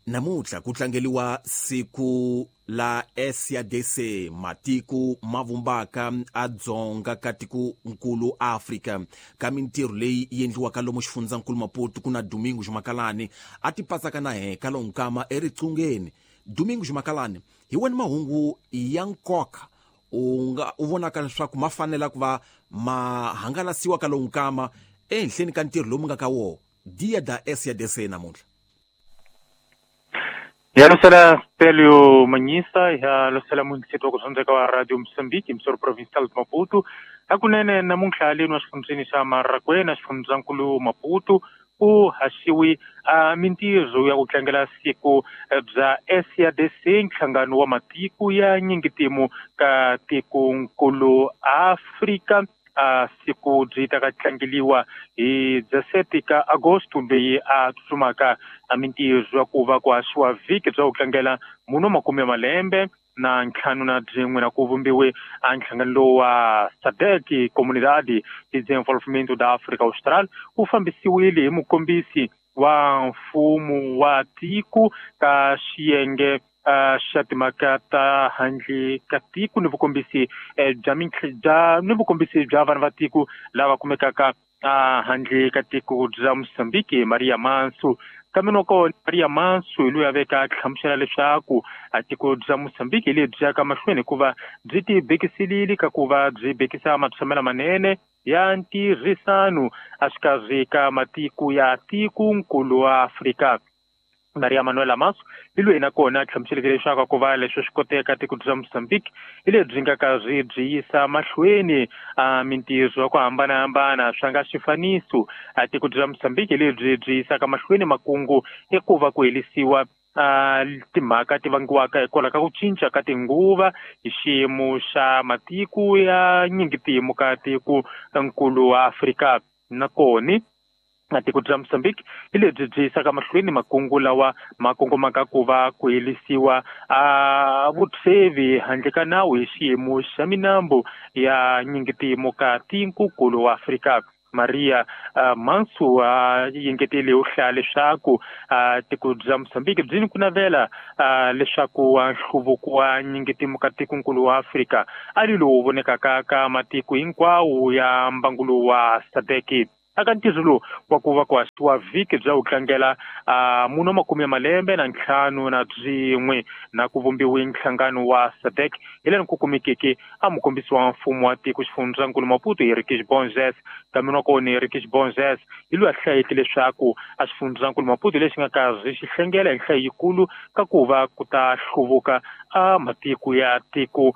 Namuntlha ku tlangeliwa siku la SADC, matiko ma vumbaka a dzonga ka tikonkulu Afrika. Ka mintirho leyi yi endliwaka lomu xifundzankulu Maputo ku na Domingos Makalani a ti patsaka na he ka lonkama eriqungeni. Domingos Makalani, hi wena mahungu ya nkoka u nga u vonaka leswaku ma fanela ku va ma hangalasiwa ka lonkama ehenhleni ka ntirho lowu nga ka wona Dia da SADC namuntlha? Ya losela Stelio Manyisa, ya losela munisipi wa kuzondzeka wa Radio Mozambique, msoro provincial de Maputo. Hakunene namuntlha leno exifundzeni xa Marakwena, xifundzankulu Maputo, ku haxiwi a mintirho ya ku tlangela siku bya SADC, nhlangano wa matiko ya nyingitimu ka tikonkulu Afrika. A siku byi ta ka tlangeliwa hi 17 ka Agosto leyi a tsutsumaka. A mintirho ya ku va ku haxiwa vhiki bya ku tlangela munhu wa makume ya malembe na ntlhanu na byin'we na ku vumbiwe a nhlangano lowu wa SADC, Comunidade de Desenvolvimento da África Austral, wu fambisiwile hi mukombisi wa mfumo wa tiko ka xiyenge xa timhaka ta handle ka tiko ni vukombisi bya bya ni vukombisi bya vanhu va tiko lava kumekaka handle ka tiko bya Mozambique, Maria Mansu. Kambe noko Maria Mansu hi loyi a veka hlamusela leswaku a tiko bya Mozambique hi lebyi yaka mahlweni hikuva byi ti bekiselile ka ku va byi bekisa matshamelo manene ya ntirhisano exikarhi ka matiko ya tikonkulu wa Afrika. Maria Manuela Manso hi loyi nakona a hlamuseleke leswaku ku va leswi swi koteka tiko bya Mozambique hi lebyi nga karhi byi yisa mahlweni a mintirho ya ku hambanahambana swa nga xifaniso. A tiko bya Mozambique hi lebyi byi yisaka mahlweni makungu i ku va ku herisiwa timhaka ti vangiwaka hikwalaho ka ku cinca ka tinguva hi xiyimo xa matiko ya nyingitimu ka tiko nkulu wa Afrika. Nakona na tiko bya Mozambique hi lebyi byi yisaka mahlweni makungu lawa ma kongomaka ku va ku herisiwa a vutsevi handle ka nawu hi xiyimo xa minambu ya nyingitimu ka tikonkulu wa Afrika. Maria Mansu a yengetele u hlaya leswaku tiko bya Mozambique byi ni ku navela leswaku nhluvuko wa nyingitimu ka tikonkulu wa Afrika a li lowu vonekaka ka matiko hinkwawo ya mbangu lowu wa SADC. Aka ntirho lowu wa ku va ku haxiwa vhiki bya ku tlangela munhu wa makume ya malembe na ntlhanu na byin'we na ku vumbiwe nhlangano wa SADC hi laha ku kumekeke a mukombisi wa mfumo wa tiko xifundzankulu Maputo Henriques Bonges. Kambe wa kona Henriques Bonges hi loyi a hlayeke leswaku a xifundzankulu Maputo lexi nga karhi xi hlengela hi nhlayo yikulu ka ku va ku ta hluvuka a matiko ya tiko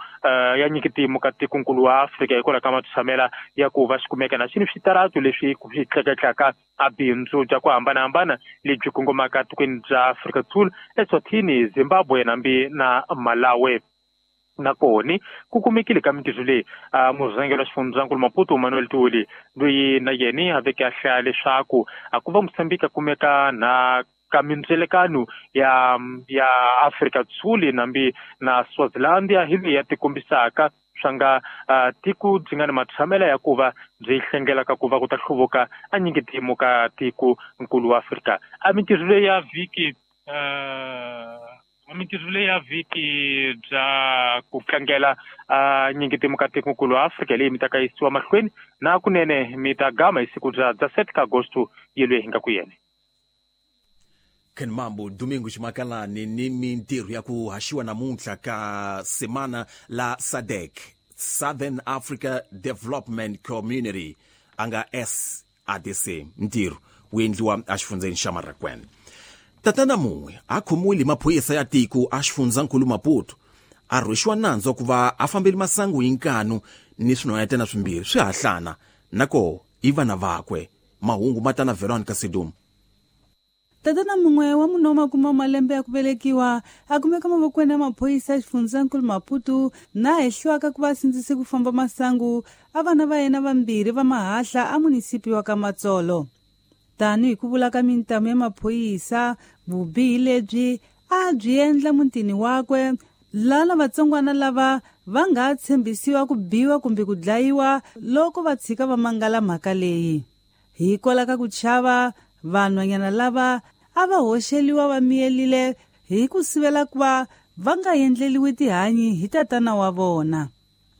ya nyikitimu ka tikonkulu wa Afrika hikwalaho ka matshamela ya ku va xi kumeka na xini switaratu leswi swi tleketlaka a bindzu bya ku hambanahambana lebyi kongomaka tikweni bya Afrika Sul, Eswatini, Zimbabwe nambi na Malawi. Nakona ku kumekile ka mintirho leyi murhangeri wa xifundzankulu Maputo Manuel Tuli loyi na yena a veke a hlaya leswaku a ku va Mozambique a kumeka na ka mindzelekano ya Afrika Sul nambi na Swaziland hi leyi ya tikombisaka swa nga tiko byi nga ni matshamela ya ku va byi hlengelaka ku va ku ta hluvuka a nyingitimu ka tiko nkulu wa Afrika. A mintirho leyi ya vhiki mintirho leyi ya vhiki bya ku tlangela nyingitimu ka tiko nkulu wa Afrika leyi mi ta ka yisiwa mahlweni na kunene mi ta gama hi siku bya 17 ka Agosto yelweyi hi nga ku yena. Ken Mambo, Domingos Makalani ni mintirho ya ku haxiwa namuntlha ka semana la SADC, Southern Africa Development Community, a nga SADC. Ntirho wu endliwa exifundzeni xa Marakwena. Tatana mun'we a khomiwile hi maphorisa ya tiko a xifundzankulu Maputo, a rhwexiwa nandzu wa ku va a fambele masangu hi nkanu ni swinhwanyetana swimbirhi swi hahlana na koho i vana vakwe. Mahungu ma ta na Veronica Sedum. Tatana mun'we wa munhu wa makume wa malembe ya ku velekiwa a kumeka mavokweni ya maphorisa ya xifundzankulu Maputo na hehliwaka ku va sindzise ku famba masangu a vana va yena vambirhi va mahahla a munisipi wa ka Matsolo. Tanihi ku vula ka mintamu ya maphorisa, vubihi lebyi a byi endla mutini wakwe laha lavatsongwana lava va nga tshembisiwa ku biwa kumbe ku dlayiwa loko va tshika va mangala mhaka leyi. Hikwalaho ka ku chava, vanhwanyana lava a va hoxeliwa va miyelile hi ku sivela ku va va nga endleliwi tihanyi hi tatana wa vona.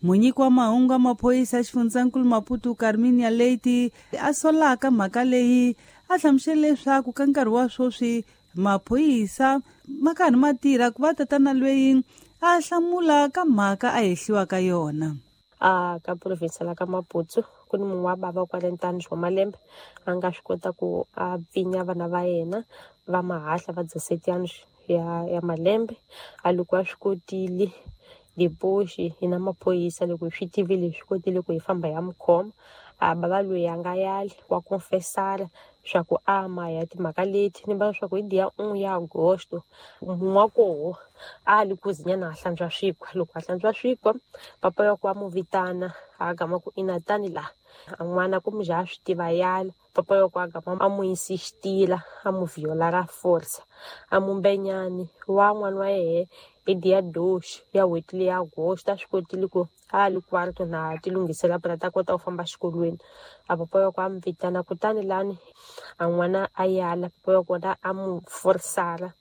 Munyiki wa mahungu ya maphorisa ya xifundzankulu Maputo Carminia Leite a solaka mhaka leyi a hlamusele leswaku ka nkarhi wa sweswi maphorisa ma karhi ma tirha ku va tatana loyi a hlamula ka mhaka a hehliwa ka yona. A ka province la ka Maputo ku ni munhu wa bava kwale ntanu wa malembe a nga swi kota ku a pfinya vana va yena va mahahla va 17 ya malembe a loko a swi kotile depoši hi na maphorisa loko hi swi tivile hi swi kotile ku hi famba ya mukhoma a bava loyi a nga yali wa confessara swa ku ama ya timhaka leti ni va swa ku hi dia 1 ya Agosto munhu wa koho a li kuzinyana a hlantswa swikwa loko a hlantswa swikwa papa ya ku a mu vitana a gama ku ina tani la a n'wana ku muja swi tiva yala papa ya ku a gama a mu insistila a mu viola ra force a mu mbenyani wa n'wana wa yehe hi dia 2 ya n'hweti leya Agosto a swi kotile ku a li kwarto na ti lunghisela phela ta kota ku famba xikolweni a papa ya ku a mu vitana kutani lani a n'wana a yala papa ya kona a mu forsara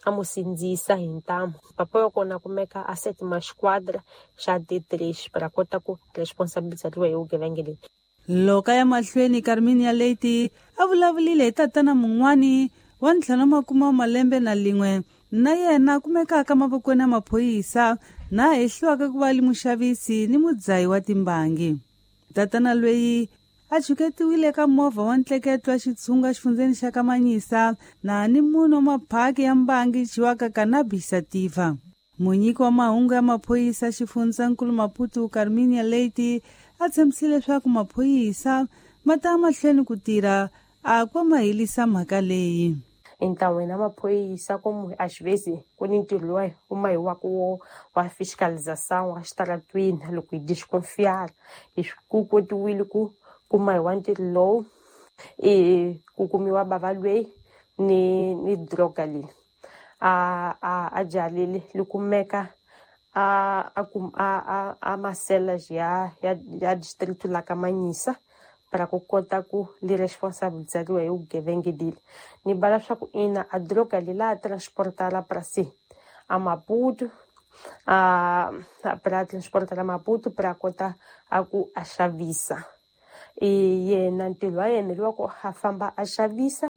a mu sindzisa hi ntamu papa ya kona kumeka a set ma squadra xa D3 para kota ku responsabilizariwa hi vugevenga leyi. Loko ya mahlweni Carminia Leite a vulavulile hi tatana mun'wani wa 51 malembe na lin'we na yena kumekaka mavokweni ya maphorisa na hehliwaka ku va li muxavisi ni mudzayi wa timbangi. Tatana loyi a chuketiwile ka movha wa ntleketo wa xitshunga xifundzeni xa Kamanyisa na ni munhu wa maphaki ya mbangi dyiwaka cannabis sativa. Munyiki wa mahungu ya maphorisa xifundzankulu Maputo Carminia Leite a tshembisile leswaku maphorisa ma ta mahlweni ku tirha a kwa ma helisa mhaka leyi. Ntlawa na maphorisa ku a xivezi ku ni ntirho lowu wu mahiwaka wo wa fiscalização wa xitaratwini loko hi desconfiar hi ku kotiwile ku kuma hi wa ntirho lowu i ku kumiwa bava loyi ni droga leyi a jalile li kumeka a masela ya distrito la Kamanyisa para ku kota ku li responsabilizariwa hi vugevenga leli ni bala swa ku ina a droga leyi la transportala para si a Maputo a para transportala Maputo para kota a ku a xavisa i yena ntirho wa yena lowa ku a famba a xavisa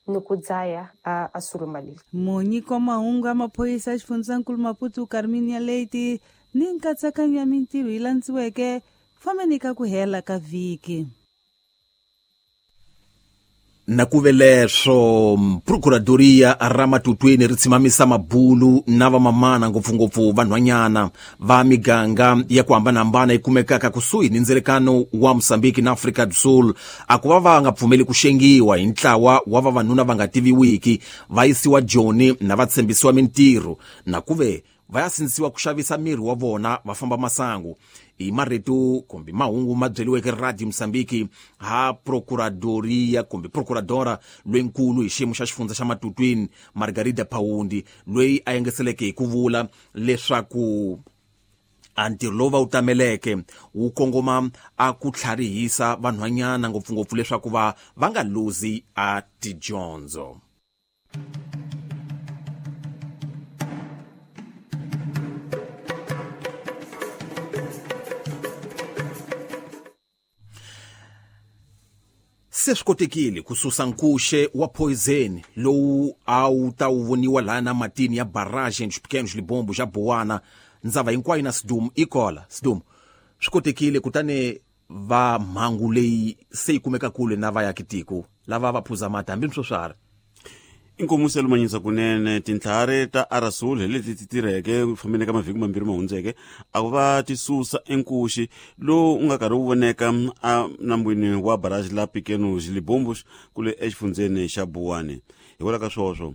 ni ku dzaya a suluma leli. Munyiki wa mahungu ya maphorisa ya xifundzankulu Maputo Carminia Leite ni nkatsakanyo ya mintirho yi landziweke fambeni ka ku hela ka vhiki. Na ku ve leswo procuradoria ra Matutweni ri tshimamisa mabulu na vamamana ngopfungopfu vanhwanyana va miganga ya ku hambanahambana yi kumekaka kusuhi ni ndzelekano wa Mozambique na Afrika do Sul a ku va va nga pfumeli ku xengiwa hi ntlawa wa vavanuna va nga tiviwiki va yisiwa Joni na va tshembisiwa mintirho na ku ve va ya sindzisiwa ku xavisa miri wa vona va famba masangu. I marito kumbe mahungu ma byeliweke Radio Mozambique ha procuradoria kumbe procuradora loyinkulu hi xiyimo xa xifundza xa Matutwini Margarida Paundi loyi a yengeseleke hi ku vula leswaku a ntirho lowu va wu tameleke wu kongoma a ku tlharihisa vanhwanyana ngopfungopfu leswaku va nga luzi a tidyondzo. Se swi kotekile ku susa nkuxe wa poison lowu a wu ta wu voniwa laha na matini ya barrage dos Pequenos Libombo xa Bowana ndzava hinkwayo na Sidumu ikola Sidumu swi kotekile kutani va mhangu leyi se yi kumeka kule na vayakitiko lava va phuza mati hambi swo swara. Inkomu selumanyisa kunene tintlhari ta Arasul hi leti ti tirheke ku fambeni ka mavhiki mambirhi ma hundzeke a ku va ti susa enkuxi lowu u nga karhi wu voneka a nambwini wa barrage la Pequenos Libombos kule exifundzeni xa Buwani. Hikwalaho ka swoswo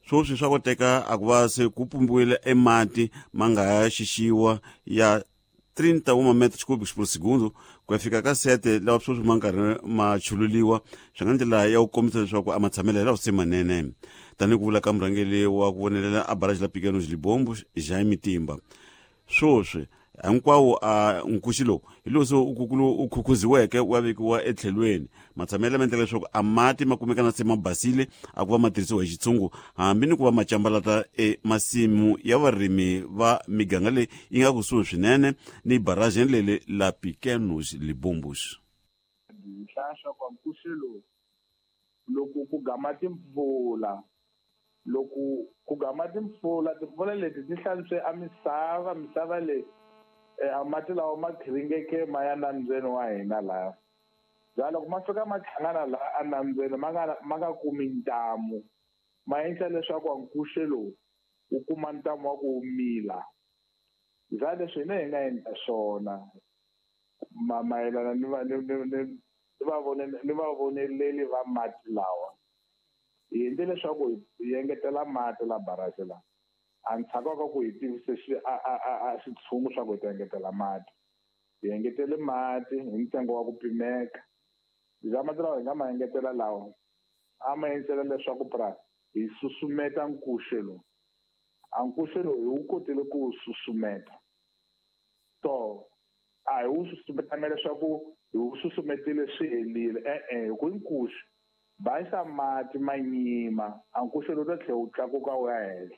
swoswi swa koteka a ku va se ku pumbiwile emati ma nga ya xixiwa ya 31 metros cúbicos por segundo ku ya fika ka 7 lawa sweswi ma nkarhi ma chululiwa swi nga ndlela ya ku kombisa leswaku a matshamelo lawa se manene tanihi ku vula ka murhangeri wa ku vonelela a barrage la Pequenos Libombos Jaime Timba. Swoswi Hinkwawo a nkuxi lowu hi lowu se u khukhuziweke wa vekiwa etlhelweni. Matshamelo ma endlela leswaku a mati ma kumeka na se ma basile a ku va ma tirhisiwa hi xitshungu, hambi ni ku va ma cambalata emasimu ya varimi va miganga leyi yi nga kusuhi swinene ni barajeni leli la Pequenos Libombos. Hi hlaya swa ku nkuxi lowu loko ku gama timpfula, loko ku gama timpfula, timpfula leti ti hlantswe a misava, misava leyi a mati lawa ma khiringeke ma ya nambyeni wa hina laha. Bya loko ma fika ma hlangana laha enambyeni ma nga kumi ntamu, ma endla leswaku nkuxe lowu wu kuma ntamu wa ku mila. Bya leswi hina hi nga endla swona mayelana ni vavoneleli va mati lawa, hi endle leswaku hi engetela mati la barrage la. A ndzhaku ka ku hi tivise xitshungu swa ku hi ta engetela mati, hi engetele mati hi ntsengo wa ku pimeka. Bya mati lawa hi nga ma engetela lawa a ma endlela leswaku pra hi susumeta nkuxe lowu. A nkuxe lowu hi wu kotile ku wu susumeta, to a hi wu susumetanga leswaku hi wu susumetile swi helile, e-e, hi ku nkuxe basa mati ma nyima, a nkuxe lowu ta tlhela wu tlakuka wu ya henhla.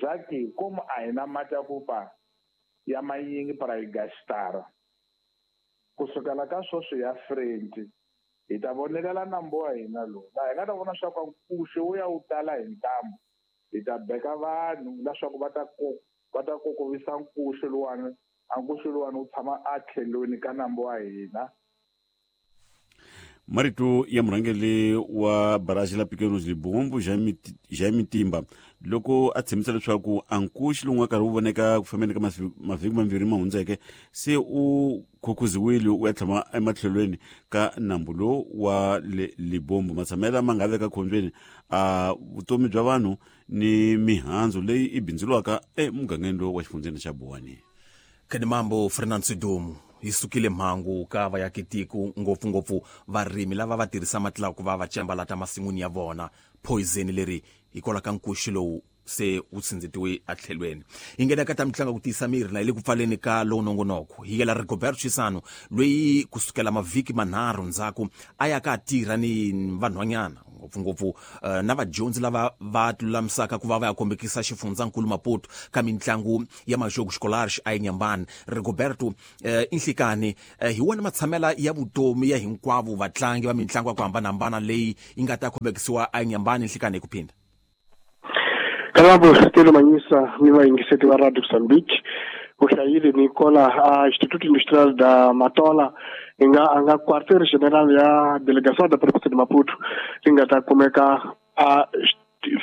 Zaki komu a hi na mati ya ku pa ya manyingi para hi gastara. Kusukela ka sweswi ya French hi ta vonelela nambu wa hina lowu, laha hi nga ta vona swa ku nkuxe wu ya wu tala hi ntamu, hi ta beka vanhu leswaku va ta kokovisa nkuxe luwani, a nkuxe luwani wu tshama a tlhelweni ka nambu wa hina. Marito ya murhangeri wa barrage la Pequenos Libombo Jaime Timba loko a tshembisa leswaku a nkuxi lowu nga karhi wu voneka ku fambeni ka mavhiki mambirhi ma hundzeke se u khukhuziwile u ya tshama ematlhelweni ka nambu lowu wa le Libombo. Matshamela ma nga veka khombyeni a vutomi bya vanhu ni mihandzu leyi i bindzuriwaka emugangeni lowu wa xifundzeni xa Buwani. Khenimambo Fernando Sidumu, hi sukile mhangu ka va ya kitiko ngopfungopfu varimi lava va tirhisa mati lawa ku va va cembalata masin'wini ya vona. Poison leri hikwalaho ka nkuxi lowu se wu tsindzitiwe etlhelweni. Hi nghena ka ta mitlangu ku tiyisa miri la hi le ku pfaleni ka lowu nongonoko. Hi yela Rigoberto Chisano loyi kusukela mavhiki manharhu ndzhaku a ya ka tirha ni vanhwanyana ngopfungopfu na vadyondzi lava va tilulamisaka ku va va ya kombekisa xifundzankulu Maputo ka mitlangu ya Majogos Escolares a Inhambane. Rigoberto inhlikani hi wona matshamela ya vutomi ya hinkwavo vatlangi va mitlangu ya ku hambanahambana leyi yi nga ta kombekisiwa a Inhambane nhlikani hi ku phinda. Kalabo Stelo Manyisa ni vayingiseti va Radio Mozambique u hlayile ni kola a Instituto Industrial da Matola nga a nga quartier general ya delegação da província de Maputo li nga ta kumeka a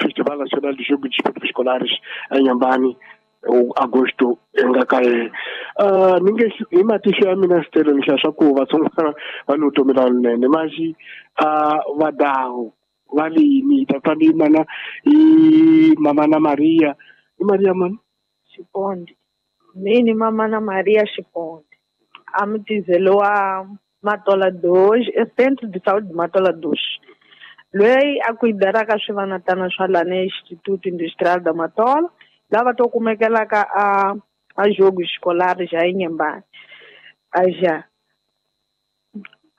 Festival Nacional de Jogos Desportivos Escolares eNyambani agosto nga ka yena. Ni nge hi matihlo ya mina Stelo ni hlaya swa ku vatsongwana va ni vutomi lawunene maxi a vadawu va lini tata ni mana i mama na Maria i Maria mani Xiponde mini mama na Maria Xiponde a mutizelo wa Matola 2 e Centro de Saúde de Matola 2 loyi a kuidaraka swivanatana swa lana Instituto Industrial da Matola lava to kumekelaka a jogo escolar já Inhambane aja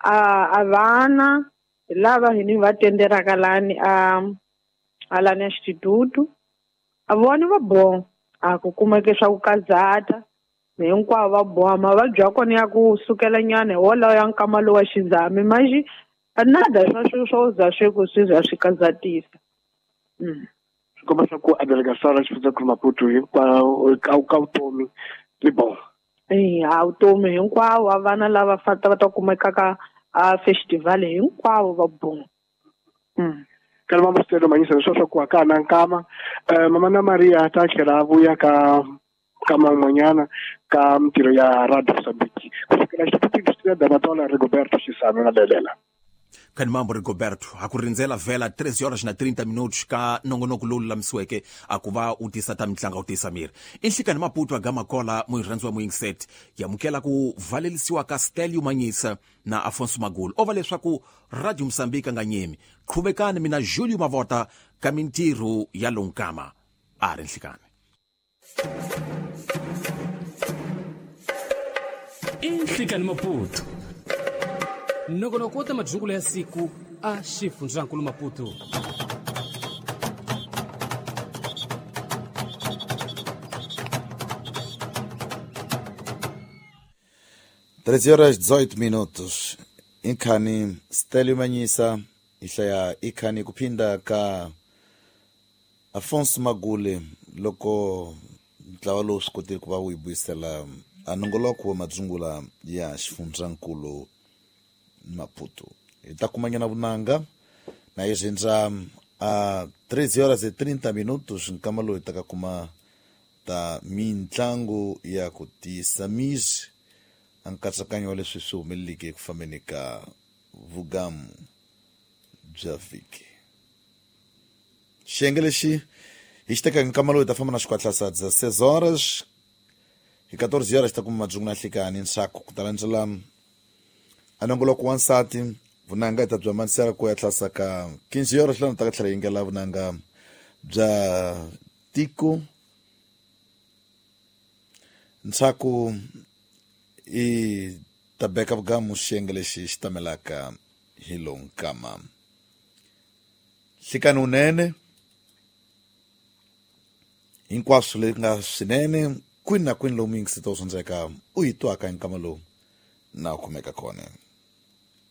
a vana lava hini va tenderaka lani a lani instituto a vona va bo a ku kumeke swa ku kazata hinkwavo va boha mavabyi ya kona ya ku sukela nyana wolawo ya nkama lowa xizami manjhe nada swa swo za swi ku swi za swi kazatisa. Swi komba swa ku a delegação ya xifundzankulu Maputo hinkwawo ka vutomi li bon. A vutomi hinkwavo a vana lava va ta kumekaka a festival hinkwavo va bon. Kana mama Stelo Manyisa leswi swa ku aka na nkama mama na Maria ta tlhela a vuya ka man'wanyana ka mintirho ya Radio Mozambique kusukela Instituto Industrial da Matola Rigoberto Chisano na Belela. Khanimambo Rigoberto a ku rindzela vhela 3 horas na 30 minutos ka nongonoko lowu lulamisiweke a ku va u tisa ta mitlangu u tisa miri. Inhlikani Maputo a Gamakola muyirhandziwa muyingiseti yamukela ku valelisiwa ka Stelio Manyisa na Afonso Magulu ova leswaku Radio Mozambique nga nyemi qhubekani mina Julio Mavota ka mintirho ya lonkama a ri nhlikani. I Nhlikani Maputo. Nongonoko wo ta majungulo ya siku a xifundzankulu Maputo. 13 horas 18 minutos. Inkhani Stelio Manyisa ihlaya ikhani kuphinda ka Afonso Magule loko ntlawa lowu swi kotile ku va wu yi vuyisela a nongoloko wa madzungula ya xifundzankulu Maputo. Hi ta kumanyana vunanga na yi rindza a 13 horas e 30 minutos nkama lowu hi ta ka kuma ta mintlangu ya ku tiyisa misi a nkatsakanyo wa leswi swi humeleleke eku fambeni ka vugamu bya vhiki. Xiyenge lexi hi xi tekaka nkama lowu hi ta famba na xikwatla sa 16 horas hi 14 horas ta kuma madzungu na nhlikani nsaku ku ta landzela a nongoloko wa nsati vunanga hi ta bya manisela ku ya tlasa ka 15 horas lana ta ka tlhela yingela vunanga bya tiko nsaku i ta beka vugamu xiyenge lexi xi tamelaka hi lowu nkama. Nhlikani wunene hinkwaswo leswi nga swinene kwini na kwini lomu yingiseta u sondzeka u yi twaka hi nkama lowu na u kumeka kona.